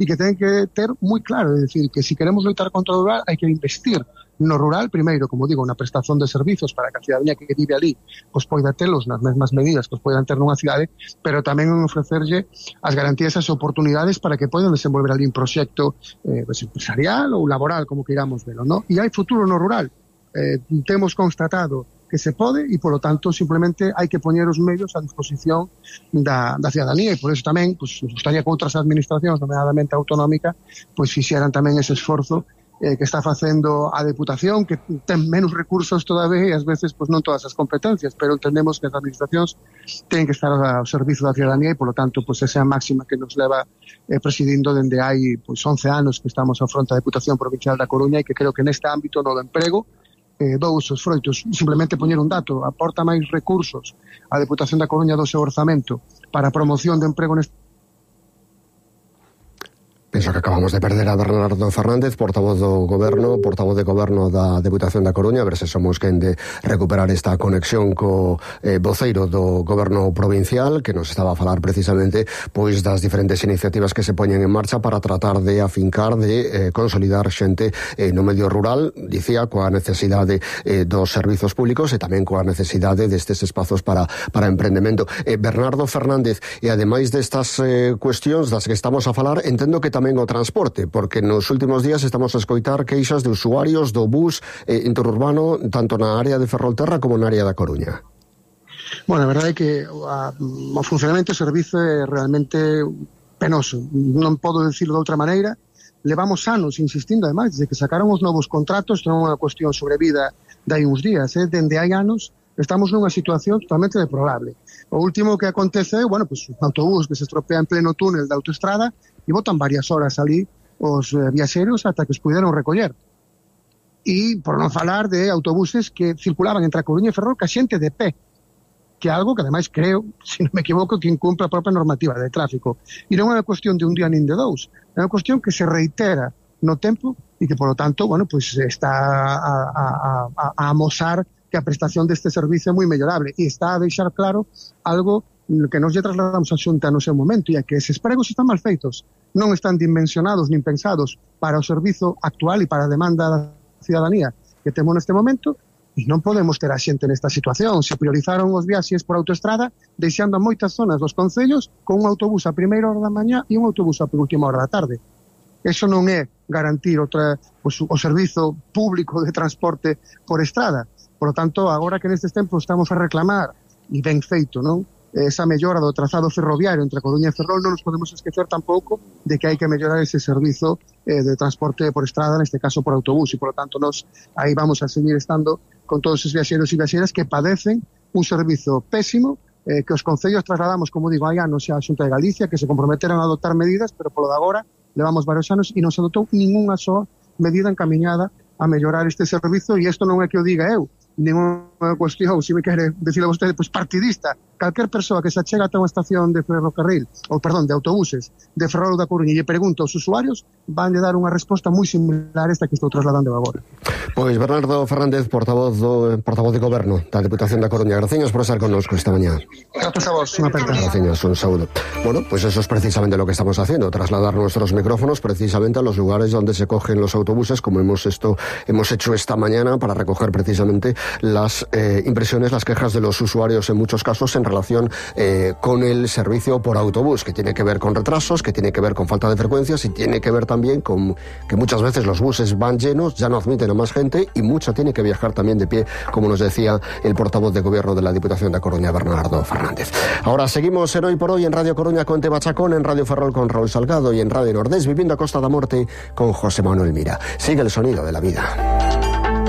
e que ten que ter moi claro, é dicir, que se queremos loitar contra o rural hai que investir no rural, primeiro, como digo, na prestación de servizos para que a cidadanía que vive ali pois poida telos nas mesmas medidas que poidan ter nunha cidade, pero tamén en ofrecerlle as garantías e as oportunidades para que poidan desenvolver ali un proxecto empresarial ou laboral, como queiramos velo, ¿no? E hai futuro no rural. Temos constatado que se pode e, polo tanto, simplemente hai que poñer os medios a disposición da cidadanía e por eso tamén, pues, nos gustaría que outras administracións, nomeadamente autonómica, pues fixeran tamén ese esforzo que está facendo a Deputación, que ten menos recursos todavía e ás veces pues, non todas as competencias, pero entendemos que as administracións ten que estar ao servizo da cidadanía e, polo tanto, pues, esa é a máxima que nos leva presidindo dende hai pues, 11 anos que estamos ao fronte da Deputación Provincial da Coruña e que creo que neste ámbito no do emprego dous os froitos, simplemente poñer un dato, aporta máis recursos a Deputación da Coruña do seu orzamento para a promoción de emprego neste. Penso que acabamos de perder a Bernardo Fernández, portavoz do Goberno da Deputación da Coruña, a ver se somos quen de recuperar esta conexión co voceiro do Goberno provincial, que nos estaba a falar precisamente pois das diferentes iniciativas que se poñen en marcha para tratar de afincar, de consolidar xente no medio rural, dicía, coa necesidade dos servizos públicos e tamén coa necesidade destes espazos para emprendemento. Bernardo Fernández, e ademais destas cuestións das que estamos a falar, entendo que tamén o transporte, porque nos últimos días estamos a escoitar queixas de usuarios do bus interurbano tanto na área de Ferrolterra como na área da Coruña. Bueno, a verdade é que o funcionamento do servizo é realmente penoso, non podo dicirlo de outra maneira. Levamos anos insistindo, ademais, desde que sacaron os novos contratos, non é unha cuestión sobre vida de hai uns días, dende hai anos estamos nunha situación totalmente deplorable. O último que acontece é, bueno, pues, un autobús que se estropea en pleno túnel da autoestrada e botan varias horas ali os viaxeros ata que os puderon recoller. E por non falar de autobuses que circulaban entre a Coruña e Ferrol ca xente de pé, que é algo que ademais creo, se non me equivoco, que incumpre a propia normativa de tráfico. E non é unha cuestión de un día nin de dous, é unha cuestión que se reitera no tempo e que, polo tanto, bueno, pues está a amosar que a prestación deste servicio é moi mellorable e está a deixar claro algo que nos lle trasladamos a Xunta no seu momento, e é que eses pregos están mal feitos, non están dimensionados nin pensados para o servizo actual e para a demanda da cidadanía que temos neste momento, e non podemos ter a xente nesta situación. Se priorizaron os viaxes por autoestrada, deixando a moitas zonas dos concellos con un autobús a primeira hora da mañá e un autobús a penúltima hora da tarde. Eso non é garantir o servizo público de transporte por estrada. Por lo tanto, agora que nestes tempos estamos a reclamar, e ben feito, non? Esa mellora do trazado ferroviario entre Coruña e Ferrol, non nos podemos esquecer tampouco de que hai que mellorar ese servizo de transporte por estrada, neste caso por autobús, e por lo tanto nos aí vamos a seguir estando con todos os viaxeros e viaxeras que padecen un servizo pésimo, que os concellos trasladamos, como digo, hai anos xa a Xunta de Galicia, que se comprometeron a adoptar medidas, pero polo de agora levamos varios anos e non se adotou ninguna soa medida encaminhada a mellorar este servizo, e isto non é que o diga eu, ninguna cuestión, se me quere decirle a vostede, pues partidista. Calquer persoa que se achega ata unha estación de ferrocarril, ou perdón, de autobuses, de Ferrol da Coruña, e lle pregunta aos usuarios, van de dar unha resposta moi similar a esta que estou trasladando agora. Pois Bernardo Fernández, portavoz de Goberno da Deputación da Coruña, graciñas por estar connosco esta mañá. Gracias a vos, unha aperta. Graciñas, un saúdo. Bueno, pues eso es precisamente lo que estamos haciendo, trasladar nuestros micrófonos precisamente a los lugares donde se cogen los autobuses, como hemos hecho esta mañana para recoger precisamente las impresiones, las quejas de los usuarios en muchos casos en relación con el servicio por autobús, que tiene que ver con retrasos, que tiene que ver con falta de frecuencias y tiene que ver también con que muchas veces los buses van llenos, ya no admiten a más gente y mucha tiene que viajar también de pie, como nos decía el portavoz de Gobierno de la Diputación da Coruña, Bernardo Fernández. Ahora seguimos en Hoy por Hoy en Radio Coruña con Teba Chacón, en Radio Ferrol con Raúl Salgado y en Radio Nordés Viviendo a Costa da Morte con José Manuel Mira. Sigue el sonido de la vida.